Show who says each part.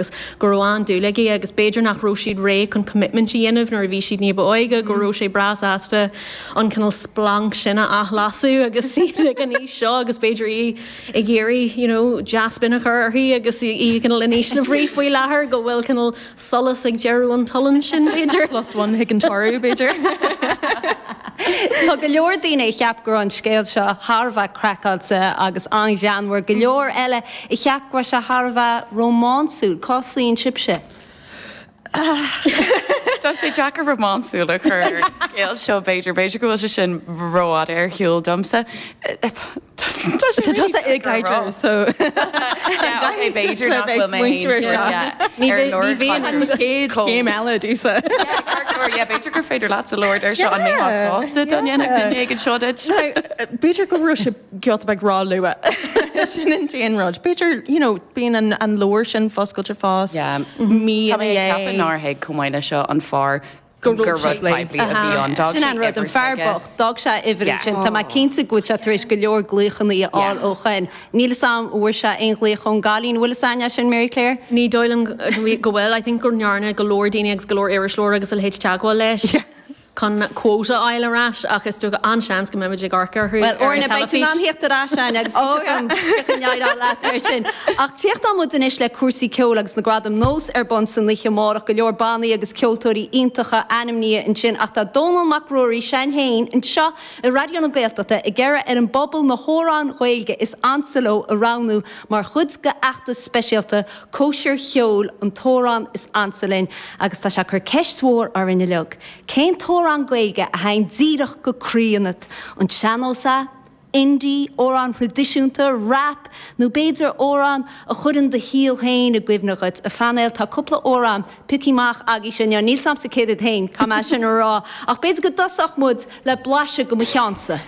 Speaker 1: Agus go raibh an-dúil aige agus b'fhéidir nach raibh siad réidh chun commitment a dhéanamh nuair a bhí siad ní ba óige, go raibh sé breá sásta an cineál splanc sin a athlasadh agus iad ag an aois seo agus b'fhéidir í ag iarraidh you know dea-spin a chur uirthi agus í cineál in ísle bhrí faoi láthair go bhfuil cineál solas ag deireadh an tolláin sin b'fhéidir.
Speaker 2: Plus one chuig an toradh b'fhéidir.
Speaker 3: Tá go leor daoine a cheap go raibh an scéal seo thar a bheith craiceáilte agus an-ghreannmhar, go leor eile a cheap go raibh sé thar a bheith rómánsúil. Cá suíonn sibhse?
Speaker 4: Tá sé deacair rómánsúil a chur ar an scéal seo, b'fhéidir. B'fhéidir go bhfuil sé sin rófhada ar shiúl domsa. Tá sé
Speaker 2: Tá tusa i gcaidreamh, so.
Speaker 4: Yeah, ok, b'fhéidir nach bhfuil mé féin sort, yeah,
Speaker 2: Ní ar lorg bhíonn an chéad chéim eile domhsa.
Speaker 4: Yeah, ceart go leor, yeah, b'fhéidir gur féidir leatsa labhairt ar seo, an mbeifeá sásta dá ndéanfadh duine éigin seo duit?
Speaker 2: B'fhéidir go raibh sé giota beag ró-luath. Sin an t-aon rud. B'fhéidir, you know, bíonn an, an leabhar sin foscailte fós,
Speaker 4: Yeah.
Speaker 2: mí
Speaker 4: Tá
Speaker 2: ina
Speaker 4: mé ag ceapadh
Speaker 2: dhiaidh.
Speaker 4: nár thuig chomh maith leis seo an fear
Speaker 2: Go raibh
Speaker 4: gur
Speaker 2: sé
Speaker 4: rud poiblí a bhí ann. D'fhág
Speaker 3: Sin
Speaker 4: sé
Speaker 3: an rud, an
Speaker 4: uimhir
Speaker 3: fear
Speaker 4: s'aige.
Speaker 3: bocht, d'fhág sé a uimhir
Speaker 4: Yeah.
Speaker 3: ansin. Tá mé cinnte go bhfuil sé tar éis go leor glaochanna a fháil
Speaker 4: Yeah.
Speaker 3: ó shoin. Níl fhios a'm an bhfuair sé aon ghlaoch ón gcailín. An bhfuil fhios a'inn é sin, Mary Claire?
Speaker 1: Ní dóigh liom go bhfuil. I think go ndearna go leor daoine agus go leor iriseoir agus a leithéid teagmháil leis.
Speaker 2: Yeah.
Speaker 1: chun quota a fháil ar ais ach is dócha an-seans go mbeimid ag amharc orthu
Speaker 3: Bhuel,
Speaker 1: ar an
Speaker 3: Orna, beidh tú in ann
Speaker 1: teilifís.
Speaker 3: theacht ar ais againn agus cífidh an éireoidh leat air sin. Ach críochnóidh muid anois le cúrsaí ceoil agus na Gradaim Nós ar bun san oíche amárach. Go leor bannaí agus ceoltóirí iontacha ainmnithe ansin ach tá Dónall Mac Ruairí, s'againn féin, anseo i Raidió na Gaeltachta ag iarraidh ar an bpobal na hamhráin Ghaeilge is ansa leo a roghnú mar chuid de fheachtas speisialta Cóisir Cheoil an t-amhrán is ansa linn agus tá sé ag cur ceist mhór orainn uilig. Cén t-amhrán Gaeilge a théann díreach go croí ionat? An sean-nós é? Indie? Amhrán thraidisiúnta? Rap? Nó b'fhéidir amhrán a chuireann do shaol féin i gcuimhne dhuit? A phainéal, tá cúpla amhrán pioctha amach agaibhse inniu. Níl 's a'msa céard iad féin, caithfidh mé sin a rá. Ach b'fhéidir go dtosódh muid le blaiseadh de mo cheannsa.